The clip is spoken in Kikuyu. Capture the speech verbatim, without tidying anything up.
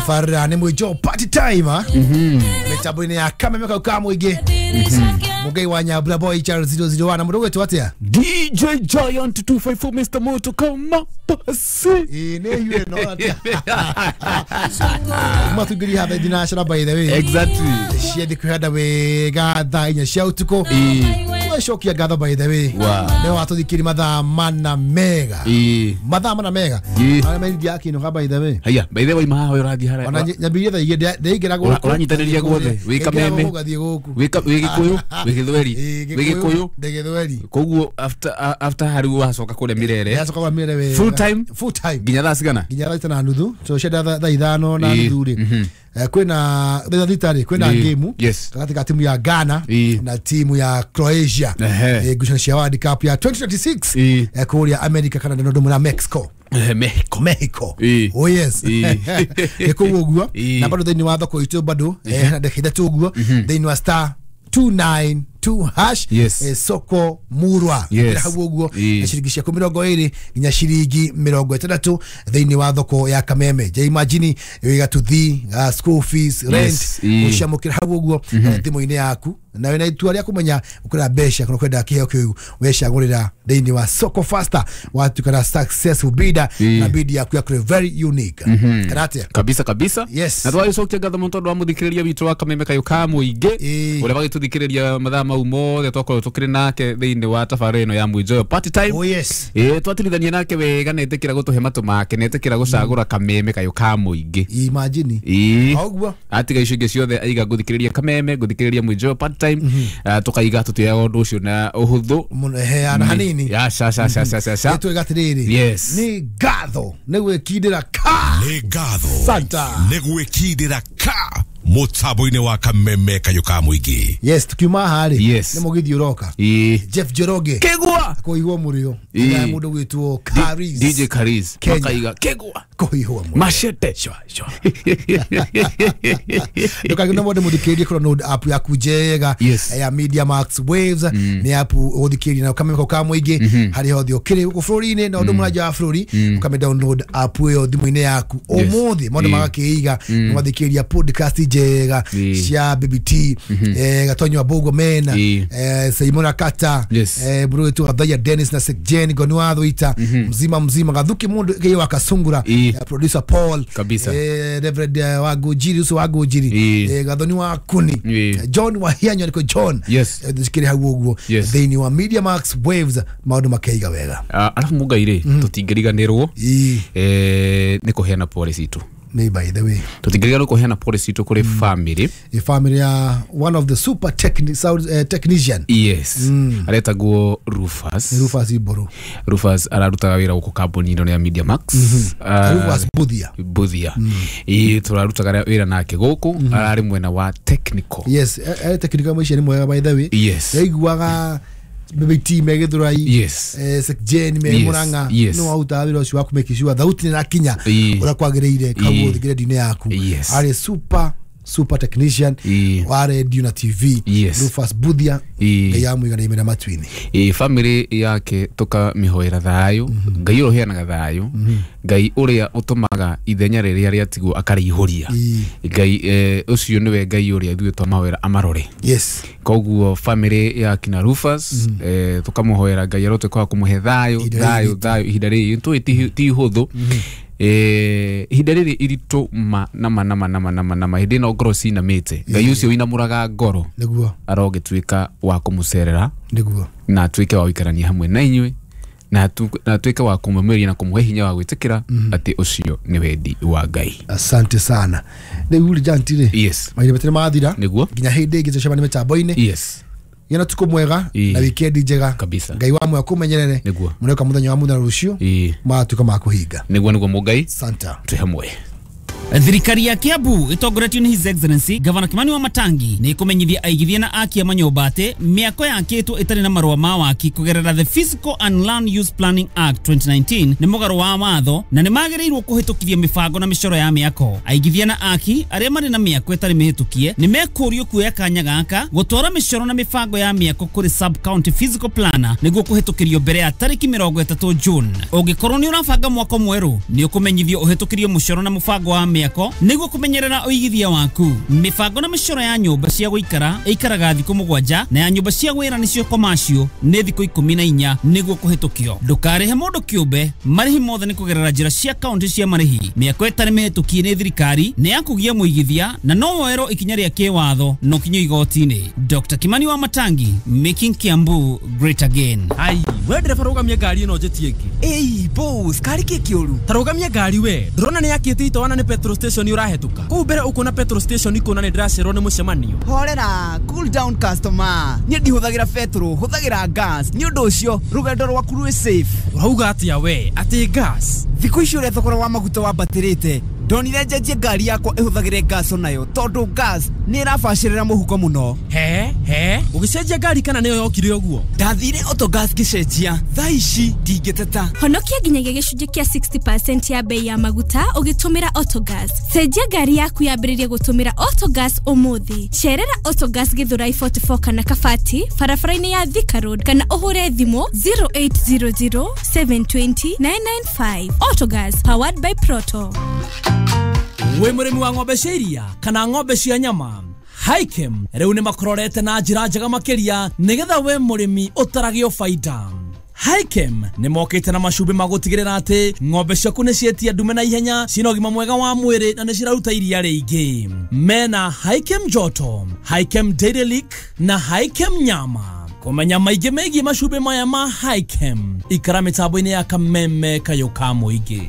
Tafarira nĩ Mwĩnjo party time ah mĩtambo-inĩ ya Kameme kau ka mũingĩ Mũgai wa Nyambura Boy Charles zero zero one na mũndũ ũgwĩtwo atĩa D J Giant two five four Mister Moto kama pasi ĩ nĩ yue no atĩa matungiri hatha international by the way exactly ciathi kwĩhanda wega thaa inya cia ũtukũ twacokia ngatho by the way nĩ watũthikĩri mathaa mana mega mathaa mana mega arĩa merindia akĩinũka by the way haya by the way maha we ũrathiĩ harĩa ona nyambirie thaa igĩrĩ ndĩingĩra gũkũ ũranyitanĩria guothe wĩ Kameme ũgathiĩ gũkũ wĩ Gĩkũyũ wĩ Gĩthweri wĩ Gĩkũyũ ndĩ Gĩthweri koguo after after harĩ wacoka kũrĩa Mirere yacoka kũrĩa Mirere wega full time full time nginya thaa cigana nginya thaa itano na nuthu so cienda thaa ithano na nuthu rĩ kwĩna thaa thita rĩ kwĩna game gatagatĩ ka timu ya Ghana na timu ya Croatia ngucanio cia World Cup ya twenty twenty-six kũrĩa America Canada na ũndũ ũmwe na Mexico Mexico Mexico oh yes nĩ kũu ũguo na bado thĩinĩ wa thoko itũ bado na ndagĩka ithatũ ũguo thĩinĩ wa star two nine two hash yes. eh, soko murwa yes. hau ũguo na ciringi ciaku mĩrongo ĩrĩ nginya ciringi mĩrongo ĩtandatũ thĩinĩ wa thoko ya Kameme je imagine ĩgatuthi uh, school fees rent ũciamũkĩra hau ũguo thimũ-inĩ yaku na wĩna itua rĩa kũmenya ũkũra mbeca kana ũkwenda kĩheo kĩu wecagũrĩra thĩinĩ wa Soko Faster watuĩka na successful bidder na bid yaku yaku very unique kana atĩa kabisa kabisa yes. Na twagĩcokia ngatho mũno tondũ wa mũthikĩrĩria witũ wa Kameme kayũ ka mũingĩ ũrĩa wagĩtũthikĩrĩria mathaa mau mothe twakorwo tũkĩrĩ nake thĩinĩ wa tabarĩra ĩno ya Mwĩnjoyo party time oh yes ĩ twatirithania nake wega na etĩkĩra gũtũhe matũ make na etĩkĩra gũcagũra Kameme kayũ ka mũingĩ imagine ĩ ũguo atiga icio ingĩ ciothe aiga ngũthikĩrĩria Kameme ngũthikĩrĩria Mwĩnjoyo party time tukaiga tũtioyaga ũndũ ũcio na ũhũthũ mũno heana hanini ya sha sha sha sha sha sha twega atĩrĩrĩ yes nĩ ngatho nĩ gwĩkindĩra ka nĩ ngatho santa nĩ gwĩkindĩra ka mũtambo-inĩ wa Kameme kayũ ka mũingĩ yes tukiuma haha rĩ yes. nĩ mũgithi ũroka Jeff Njoroge Kĩgwa kũihwo mũrĩo na mũndũ gwĩtwo Karis D J Karis makaiga Kĩgwa kũihwo mũrĩo machete shwa shwa ndũkagĩre mũndũ mũthikĩrĩrie kũrora node app yaku njega yes. ya Media Max Waves mm. nĩ app ũgũthikĩrĩria na Kameme ka mũingĩ mm -hmm. harĩa hothe ũkĩrĩ gũkũ bũrũri-inĩ na ũndũ mũranja wa bũrũri mm. ũkame download app ĩyo thimũ-inĩ yaku ũmũthĩ maũndũ magakĩiga mm. ũgathikĩrĩria podcast njega cia B B T eh Gatonyo wa Bogo Mena eh Simona Kata eh Buru Gathaya Dennis na Sekjen Gonwa Thuita mzima mzima Gathuki mundu kiyo akasungura producer Paul kabisa eh Reverend wa Gojiri uso wa Gojiri eh Gathoni wa Kuni John wa Hianyo niko John yes thikiri hau uguo thiini wa Media Max Waves maundu makeiga wega alafu mugaire tutingiriganirwo eh ni kuheana pole citu ni by the way tutingiriganirwo kuheana pole citu kuri family a family ya one of the super techni sound uh, technician yes mm. aretagwo Rufus Rufus Iboru Rufus ararutaga wira guku kambuni ino ya Media Max mm -hmm. uh, Rufus Buthia Buthia mm. ii turarutaga wira nake guku mm -hmm. arari mwena wa technical yes ari technical mwici ni mwega by the way yes yaiguaga B B T me Githurai yes eh Sekjen me Murang'a no auta wira ucio wa kumake sure thauti ni rakinya uria kwagiriire kaguo thikire yaku yes. Ari super super technician wa radio na T V yes. Rufus Buthia ngai amwigana imena matwini e family yake tukamĩhoera thayo ngai ũrĩa ũheanaga thayo ngai ũrĩa ũtũmaga ithenya rĩrĩa rĩatigwo akarĩihũria ngai ũcio nĩwe ngai ũrĩa ithuĩ twamahoera amarore yes koguo family ya kina Rufus eh tukamũhoera ngai arotuĩka wa kũmũhe thayo thayo thayo ihinda rĩrĩ tũĩ ti ihũthũ eh ihinda rĩrĩ iritũ ma na ma na ma na ma na ma na ma hĩndĩ ĩno ngoro cinamĩte ngai ũcio ũinamũraga ngoro nĩguo arogĩtuĩka wa kũmũcerera nĩguo na atuĩke wa gũikarania hamwe na inyuĩ na atuĩke wa kũmũmĩria na kũmũhe hinya wa gwĩtĩkĩra atĩ ũcio nĩ wendi wa Ngai asante sana rĩu rĩ Janti rĩ yes mahinda matirĩ mathira nĩguo nginya hĩndĩ ĩngĩ tũcemanie mĩtambo-inĩ yes gĩa tuko mwega na weekend njega kabisa ngai wa mwega kũmenyerere nĩguo mũreka mũthenya wa mũthenya rũciũ matuĩka ma kũhinga nĩguo nĩguo mũngai santa twĩ hamwe Thirikari ya Kiambu itongoretio ni His Excellency Governor Kimani Wamatangi ni ikumenyithia aigithia na aki a manyũmba atĩ mĩako yakĩtwo ĩtarĩ na marũa ma waki kũgerera the Physical and Land Use Planning Act twenty nineteen nĩ mũgarũ wa watho na nĩ magĩrĩirwo kũhĩtũkithia mĩbango na mĩcoro ya mĩako. Aigithia na aki arĩa marĩ na mĩako ĩtarĩ mĩhĩtũkie nĩ mekũrio kuoya kanya gaka gũtwara mĩcoro na mĩbango ya mĩako kũrĩ sub county physical planner nĩguo kũhĩtũkĩrio mbere ya tarĩki mĩrongo ĩtatũ June. Ũngĩkorwo nĩ ũrabanga mwako mwerũ nĩ ũkũmenyithio ũhĩtũkĩrio mũcoro na mũbango wa mĩako nĩguo kũmenyerera ũigithia waku. Mĩbango na mĩcoro ya nyũmba cia gũikara ĩikaraga thikũ mũgwanja na ya nyũmba cia wĩra nĩcio commercial nĩ thikũ ikũmi na inya nĩguo kũhĩtũkio. Ndũkarĩhe mũndũ kĩũmbe, marĩhi mothe nĩ kũgerera njĩra cia kaunti cia marĩhi. Mĩako ĩtarĩ mĩhĩtũkie nĩ thirikari nĩ ya kũgia mũigithia na no woerwo ikinya rĩa kĩwatho no kinyo igoti-inĩ. Doctor Kimani wa Matangi, making Kiambu great again. Ai, we ndereba rũgamia ngari ĩno njĩtie ĩngĩ. Ĩi boss, kari kĩ kĩũru? Ta rũgamia ngari we, ndũrona nĩ yakĩte itoana nĩ petrol station ũrahĩtũka. Kũu mbere ũkuona petrol station ikuona nĩ ndĩracererwo nĩ mũcemanio. Horera, cool down customer. Niĩ ndihũthagĩra petrol, hũthagĩra gas. Nĩ ũndũ ũcio rũgendo rwaku rwĩ safe. Ũrauga atĩa we? Atĩ gas? Thikũ ici ũrĩa thogora wa maguta wambatĩrĩte, ndonire njenjie ngari yakwa ĩhũthagĩre gas onayo tondũ gas nĩ ĩrabacĩrĩra mũhuko mũno. He he, ũgĩcenjia ngari kana nĩyo yokire ũguo? Ndathire Autogas ngĩcenjia, thaa ici ndingĩteta. Honokia nginyagia gĩcunjĩ kĩa sixty percent ya bei ya maguta ũgĩtũmĩra Autogas. Cenjia ngari yaku yambĩrĩrie gũtũmĩra Autogas ũmũthĩ. Cerera Autogas Githurai forty-four kana Kabati barabara-inĩ ya Thika Road kana ũhũre thimũ zero eight zero zero seven two zero nine nine five. Autogas, powered by Proto. Wĩ mũrĩmi wa ng'ombe cia iria kana ng'ombe cia nyama, Hikem rĩu nĩ makororete na njĩra njega makĩria nĩgetha we mũrĩmi ũtaragio baida. Hikem nĩ mokĩte na macumbĩ ma gũtigĩrĩra atĩ ng'ombe ciaku nĩ cietia ndume na ihenya, cina ũgima mwega wa mwĩrĩ na nĩ ciraruta iria rĩingĩ. Mena Hikem Joto, Hikem Dairy Lick na Hikem Nyama. Kũmenya maingĩ megiĩ macumbĩ maya ma Hikem, ikara mĩtambo-inĩ ya Kameme Kayũ ka Mũingĩ.